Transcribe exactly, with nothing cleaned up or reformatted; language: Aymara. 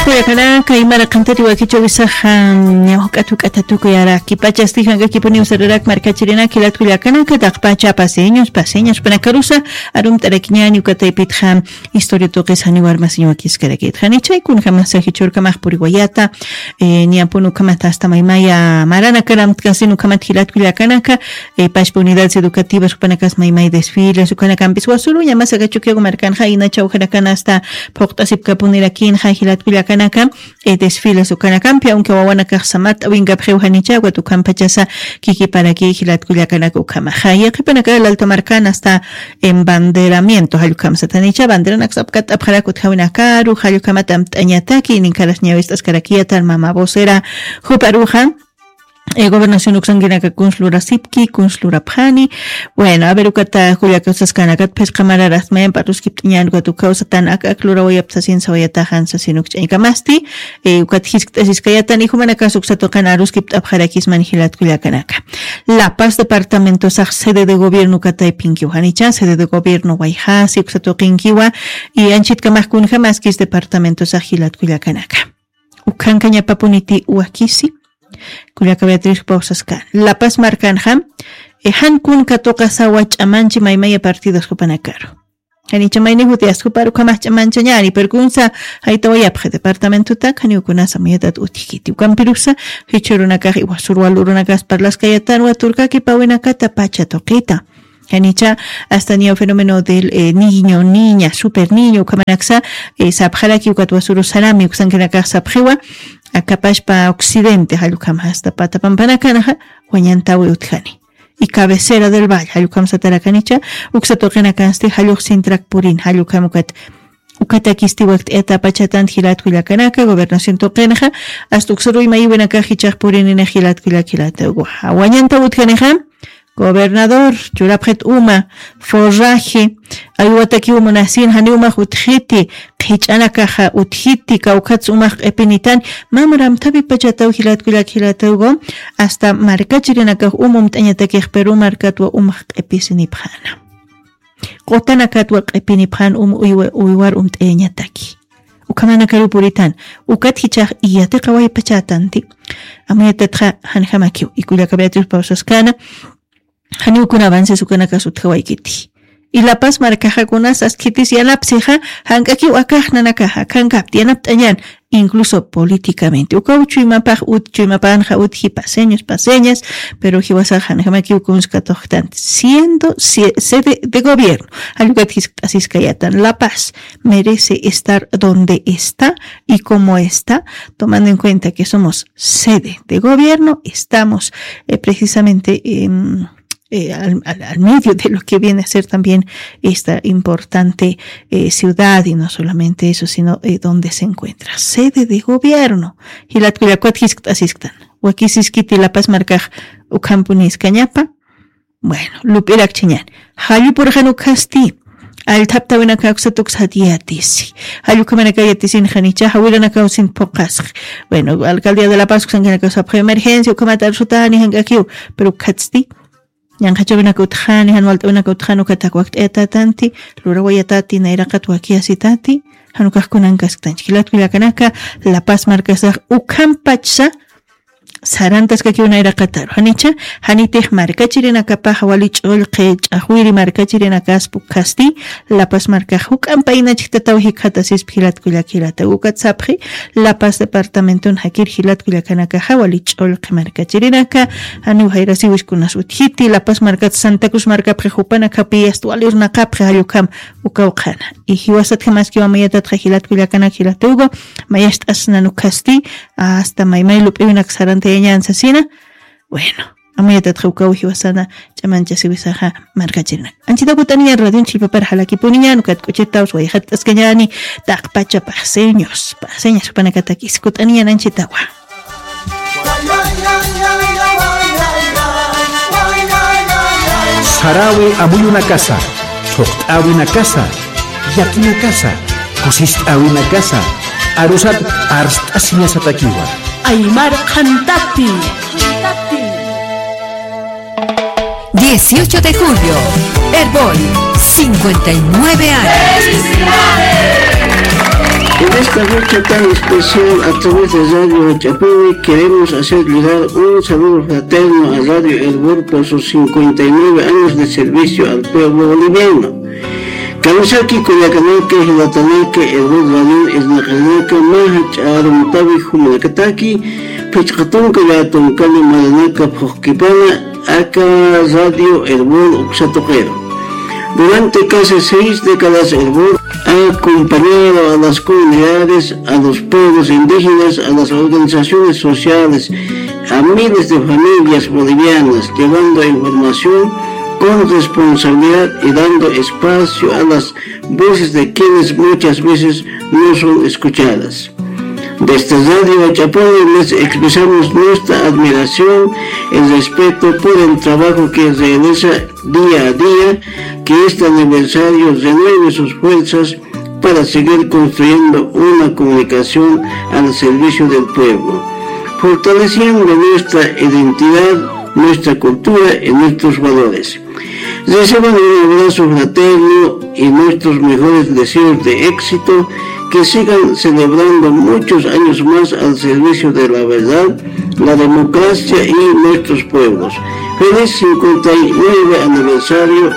Kullakanaka, imara qantati wakichawisaxa, ñawk'at juk'ata tukuyaraki pachasti jank'akipuniw sararak markachirinak jilat kullakanaka, taqpacha paseños, paseños panakarusa, arumt'arakiñani ukataypitxa, historia tuqis janiw armasiñ wakiskarakit. Jani chay kunjamasa jichhurkamax puriwayata, eh, niyapun ukhamata hasta maymaya maranakar amtkasin ukhamat jilat kullakanaka, eh, pachpa unidades educativas jupanakas maymay desfiles, ukanakampis wasuruña, masaka Chukiyawu markanxa, inachaw janakan hasta phuqt'asipkapunirakinxa jilat kullakanaka, eh, desfiles ukanakampi, aunque wawanakax samat awinkapxiw janicha, ukat ukhampachasa kikiparaki jilat kullakanaka ukhamaxa. Yaqhipanaka lalta markan hasta embanderamiento, jallukhamsatanicha, banderanak sapkat apxarak utjawinakaru, jallukhamat amt'añataki, ininkaras ñawist'askarakiyatan mama vocera juparuxa, eh, gobernación uksankinaka kuns lurasipki, kuns lurapxani. Bueno, a ver, ukata kullaka usaskanakat, phisqa mararas mayampa aruskipt'añan, ukat ukaw satan ak, ak lurawayapta sasin sawayataxan sasin ukch'añkamasti, eh, ukat jiskt'asiskayatan, y jumanakas uksa tuqin aruskipt'apxarakisman jilat kullakanaka. La Paz departamentosax sede de gobierno ukataypinkiw janicha, sede de gobierno wayjasi uksa tuqinkiwa, y anchitkamax kunjamaskis departamentosax jilat kullakanaka. Ukhankañapapuniti wakisi, kullaka Beatriz pawsaskan. La Paz markanxa, eh, jan kun katuqasawa ch'amanchi maymaya partidos jupanakaru. Janicha mayni jutias jupar ukhamax ch'amanchañani, pero kunsa jaytawayapxi departamentotak, janiw kunasa mayatat utjkiti. Ukampirusa, jichhürunakax iwasurwa lurunakas parlaskayatanwa turkakipawinakata pacha tuqita. Janicha, hasta niya fenómeno del, eh, niño, niña, super niño, ukhamanaksa, eh, sapxaraki ukat wasuru sarami, uksankinakax sapxiwa, akapashpa occidente, jallukham hasta pata pampanakanaxa, wañantawi utjani. Y cabecera del valle, jallukhamsatarakanicha, uksa tuqinakansti, jalluk sintrak purin, jallukham ukat, ukatakisti wakt'ayata pachatan jilat kullakanaka, gobernación tuqinxa, hasta uksaruy mayiwinakax jichax purinini jilat kullak jilat, wañantaw utjanixa, gobernador, churapxit uma, forraje, aywatakiw munasin, janiw umax utjiti, qhich'anakaxa utjiti, kawkhats umax q'ipinitan, mam ramthapi pachataw jilat kullak jilat ugo, hasta markachirinakax um umt'añatakix, pero markatwa umax q'ipisinipxana. Qutanakatwa q'ipinipxan um uywa-, uywar umt'ayañataki. Ukhamanakaru puritan, ukat jichax iyatiqa waypachatanti. Amuyatatxa janjamakiw, y kullaka Beatriz pawsaskana, janiw kuna avances ukanakas utjawaykiti. Y La Paz markaxa kunas askhitis yanapsixa, jank'akiw akax nanakaxa, akhankapti yanapt'añan, incluso políticamente. Ukaw chuymapax ut, chuymapanxa utji paseñas, paseñas, pero jiwasax janjamakiw kunsa katuqtanti. Siendo sie-, sede de gobierno, jallukat jiskt'asiskayatan, La Paz merece estar donde está y como está, tomando en cuenta que somos sede de gobierno, estamos, eh, precisamente, em, eh, al, al, al medio de lo que viene a ser también esta importante, eh, ciudad, y no solamente eso, sino, eh, donde se encuentra, sede de gobierno. Jilat kullakat jiskt'asisktan. Wakisiskiti La Paz markax ukhampuniskañapa. Bueno, lup'irakchiñan. Jallupurxan ukhasti. Allthaptawinaka uksa tuksat yatisi. Jallukhamanaka yatisin janicha, jawiranakaw sin phuqasx. Bueno, alcaldía de La Paz uksankinakaw sapxi emergencia, ukhamat arsutani jank'akiw. Pero ukhatsti. Ñanqhachawinaka utjani, jan walt'awinaka utjani, ukatak wakt'ayatatanti, lurawayatati, nayraqat wakiyasitati, jan ukax kunankasktanchik. Jilat kullakanaka, La Paz markasax ukhampachsa, sarantaskakiw nayraqataru. Janicha, janitix markachirinakapax wali ch'ullqi, ch'axwiri markachirinakaspa ukhasti, La Paz markax juk'ampa inachktataw jikxatasispa jilat kullak jilata. Ukat sapxi, La Paz departamenton jakir jilat kullakanakaxa wali ch'ullqi markachirinaka, janiw jayrasiwis kunas utjiti, La Paz markat Santa Cruz markapxi jupanakapi asta wali urunaqapxi jallukham ukaw qhana. Y jiwasatjamaskiw amayatatxa jilat kullakanak jilat ugo, mayacht'asnan ukhasti, hasta maymay lup'iwinak sarantayañan sasina. Bueno, amayatatxa ukaw jiwasana ch'amanchasiwisaxa markachirinak. Anchitaw kut'aniñan radion chillpapar jalakipuniñan, ukat k'uchitaw swayxatt'askañani, taqpacha paseños, paseños jupanakatakis, kut'aniñan anchitawa. Sarawi amuyunakasa, thuqt'äwinakasa, llakinakasa, kusist'äwinakasa, arusat arst'asiñasatakiwa. Aymar qhantati. Dieciocho de julio, Erbol, cincuenta y nueve años. En esta fecha tan especial, a través de Radio Chapini, queremos hacer llegar un saludo fraterno a Radio El Burpo, sus cincuenta y nueve años de servicio al pueblo boliviano. Kamisaki kullakanaka, jilatanaka, El Burpo Radio, irnaqarinaka, maja ch'arumtawi jumanakataki, phichqa tunka llätunkani maranaka phuqkipana, aka Radio El Burpo uksatuqero. Durante casi seis décadas, El Burpo ha acompañado a las comunidades, a los pueblos indígenas, a las organizaciones sociales, a miles de familias bolivianas, llevando información con responsabilidad y dando espacio a las voces de quienes muchas veces no son escuchadas. Desde Radio Chapini les expresamos nuestra admiración y respeto por el trabajo que realiza día a día, que este aniversario renueve sus fuerzas para seguir construyendo una comunicación al servicio del pueblo, fortaleciendo nuestra identidad, nuestra cultura y nuestros valores. Reciban un abrazo fraterno y nuestros mejores deseos de éxito, que sigan celebrando muchos años más al servicio de la verdad, la democracia y nuestros pueblos. Feliz cincuenta y nueve aniversario